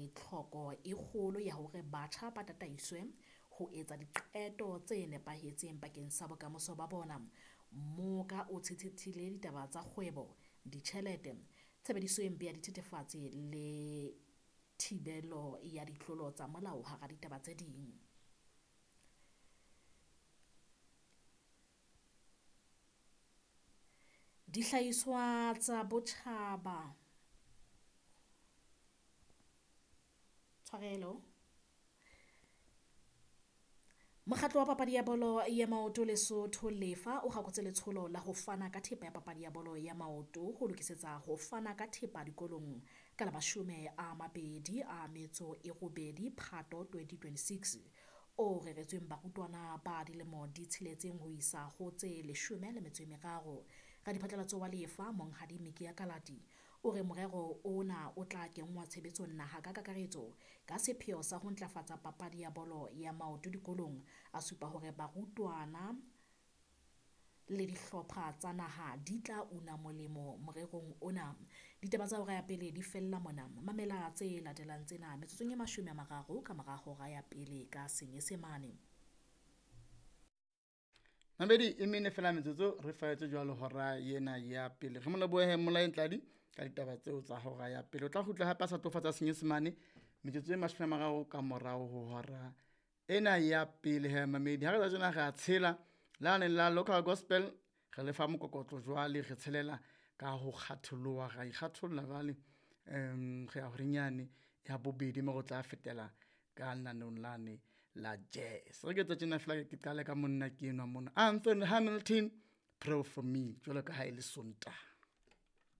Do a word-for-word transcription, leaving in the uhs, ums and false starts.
re tlhoko e kgolo ya hore batjha ba tataiswe ho etsa diqeto tse nepahetseng bakeng sa bokamoso ba bona. Mmoka o tshetshethile ditaba tsa kgwebo, ditjhelete, tshebediso e mpe ya dithethefatsi le thibelo ya ditlolo tsa molao hara ditaba tse ding. Dihlahiswa tsa botjhaba, tshwarelo. Mokgatlo wa papadi ya bolo ya maoto Lesotho Lefa o kgakotse letsholo la ho fana ka thepa ya papadi ya bolo ya maoto ho lokisetsa ho fana ka thepa dikolong ka la mashome a mabedi a metso e robedi Phato twenty twenty-six o reretsweng barutwana ba dilemo di tsheletseng ho isa ho tse leshome le metso e meraro. Radiphatlalatso wa Lefa Monghadi Mikia Kalati o re morero ona o tla kenngwa tshebetsong naha ka kakaretso ka sepheo sa ho ntlafatsa papadi ya bolo ya maoto dikolong. A supa hore barutwana le dihlopha tsa naha di tla una molemo morerong ona. Ditaba tsa hora ya pele di fella mona. Mamela tse latelang tsena metsotsong e mashome a mararo ka mora hora ya pele ka Senyesemane. Mabedi e mene fela metsotso re faetse jwalo hora ena ya pele. Re mo lebohe Molaeng Tladi ka ditaba tseo tsa hora ya pele. O tla kgutla hape a sa tlo Senyesemane metsotso e mashome a mararo ka morao ho hora ena ya pele. He mamedi, ha re tsa tjena re a tshela lane la local gospel, re lefa mokokotlo jwale re tshelela ka ho kgatholoha, ra ikgatholla jwale. Um re ya horenyane ya bobedi mo re tla fetela ka lenaneng lane la jazz. Re ke tsa tjena fela ke qale ka monna ke enwa mona, Anthony Hamilton, Pray for Me, jwalo ka ha e le Sontaha.